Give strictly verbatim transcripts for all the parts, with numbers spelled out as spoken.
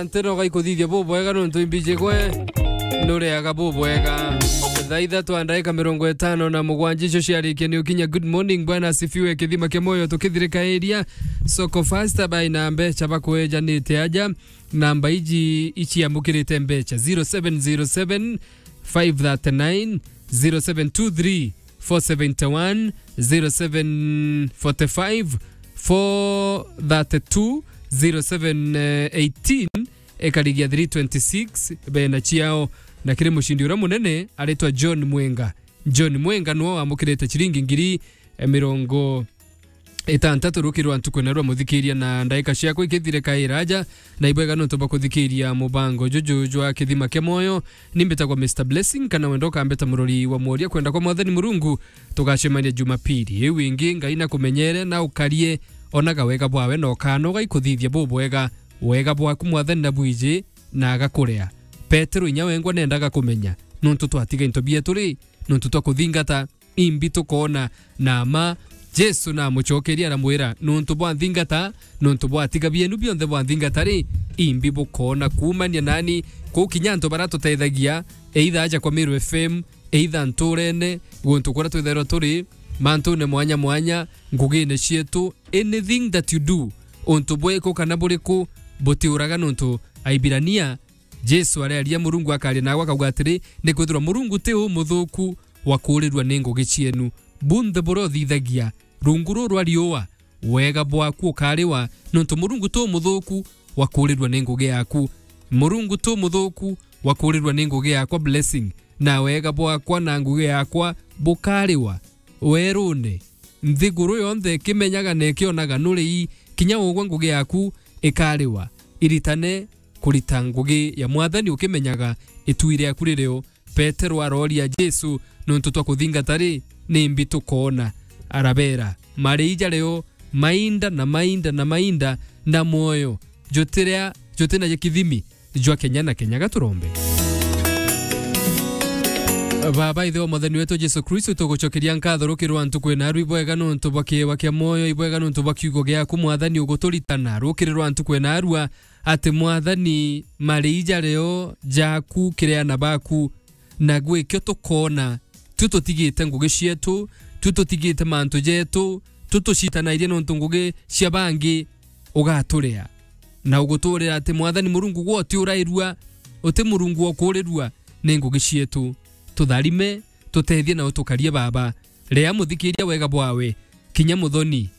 Ntino gaikuthithia bubwega nontu imbiji gwe nureaga bubwega. Thaa ithatu a ndaika mirongo itano na mugwanja icio ciarikia ni ukinya. Good morning, Bwana asifiwe, kithima kia moyo tukithirika area. Soko Fasta by na mbecha bakwejanite aja. Namba iji iciamukirite mbecha: zero seven zero seven, five thirty-nine, zero seven two three, four seventy-one, zero seven forty-five, four thirty-two, zero seven eighteen, ikarigia three twenty-six, bena ciao. Na kiri mucindi uria munene aritwa John Mwenga. John Mwenga niwe wamukirite ciringi ngiri, eh, mirongo itantatu rukiri rwa ntuku na rwa muthikiria, na ndaika ciakwa ikithire kaira aja, na ibwega nontu bwa kuthikiria mubango juju jwa kithima kia moyo. Ni mbitagwa Mister Blessing, kana wenda ukambita murori wa mworia kwenda kwa Mwathani Murungu, tugacemania Jumapili. Iu ingi Ngai na kumenyere na ukarie, onaga wega bwawe na ukanoga ikuthithia bubwega. Wega bwaku Mwathani na bwiji na agakurea. Petero inya wengwa nendaga kumenya, nontu twatiga into bietu ri, nontu twa kuthingata imbi tukoona, na mma Jesu namucokeria aramwira, "Nontu bwanthingata, nontu bwatiga bienu bionthe bwanthingata ri, imbi bukoona kuumania nani?" Kuu kinya antu baria tutethagia, either aja kwa Meru F M, either ntuurene, guntu kuria twithairwa turi, mantune mwanya mwanya, ngugine cietu, anything that you do, untu bwiku kana buriku, butiuraga nontu Aibirania Jesu arearia Murungu akaria nagwe akauga atiri, "Nikwithirwa Murungu ti umuthuku wa kuurirua ni ngugi cienu. Bunthe buria uthithagia rungu ruu rwa riua, wega bwaku ukariwa, nontu Murungu ti umuthuku wa kuurirua ni ngugi yaku." Murungu ti umuthuku wa kuurirua ni ngugi yakwa, Blessing, na wega bwakwa na ngugi yakwa bukariwa werune. Nthiguru yonthe ikimenyaga na ikionaga nuri ii, kinya ugwe ngugi yaku ikariwa. Iritane kurita ngugi ya Mwathani ukimenyaga itu riaku riri o. Petero aroria Jesu, "Nontu twa kuthingata ri, ni mbi tukoona?" Arabera, "Mari jario mainda na mainda na mainda, na mwoyo jutiria, jutina kithimi jwa kenya na kenya." Gaturombe. Baba, Ithe wa Mwathani wetu Jesu Kristo, tugucokeria nkatho rukiri rwa ntuku ina arua ibwega nontu bwa kiewa kia mwoyo, ibwega nontu bwa kiugo giaku, Mwathani, uguturitana rukiri rwa ntuku ina arua, ati Mwathani, mari jario jaku kiri ana baku, na gwikio tukoona, tu tutigite ngugi cietu, tu tutigite mantu jetu, tu tucitanairie nontu ngugi cia bangi, ugaturia na uguturira ati Mwathani Murungu gwe utiurairua, uti Murungu wa kuurirua ni ngugi cietu. Tutharime, tutethie na utukarie Baba. Ria muthikiria wega bwawe, kinya muthoni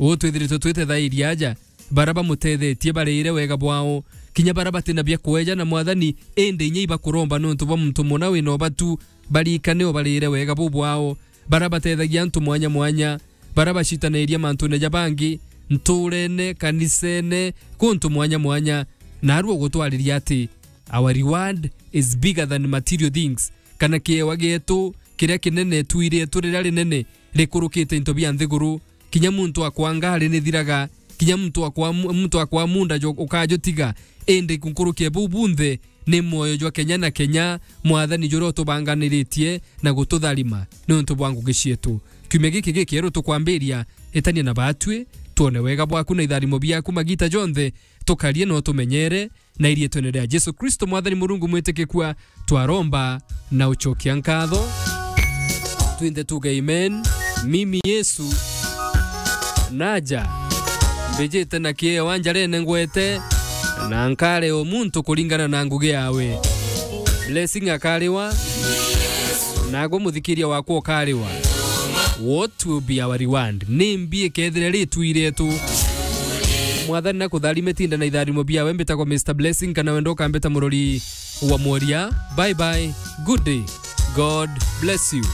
uu twithiritwe twitethairie aja, baria bamutethetie bariire wega bwao, kinya baria batina bia kweja na Mwathani, indi inya ibakuromba nontu bwa muntu muna wina ubatu, barikane ubariire wega bubwao, baria batethagia antu mwanya mwanya, baria bacitanairia mantune ja bangi, ntuurene, kanisene, kuntu mwanya mwanya, naarua ugutwariria ati, our reward is bigger than material things, kana kiewa gietu kiria kinene, itu rietu riria rinene rikurukite into bia nthiguru. Kinya muntu akwa ngari nithiraga, kinya muntu akwa mu-, muntu akwa munda jo-, ukajutiga, indi nkuruki e buu bunthe ni mwoyo jwa kenya na kenya, Mwathani, juria utubanganiritie na gututharima niuntu bwa ngugi cietu. Kiumia giki gikieru tukwambiria, itania na baatui, twone wega bwaku na itharimo biaku magiita jonthe, tukarie na utumenyere, na iriitwene ria Jesu Kristo, Mwathani Murungu mwitikikua, twaromba na ucokia nkatho. Twinthe tuge amen. Mimi Yesu naja, mbijite na kiewa njarene ngwete, na nkare o muntu kuringana na ngugi yawe. Blessing akariwa, nagwe muthikiria wakwa ukariwa. What will be our reward? Ni mbi ikethire ritu iretu. Mwathani na kutharime, tinda na itharimo biawe. Mbitagwa Mister Blessing, kana wenda ukambita murori wa mworia. Bye bye. Good day. God bless you.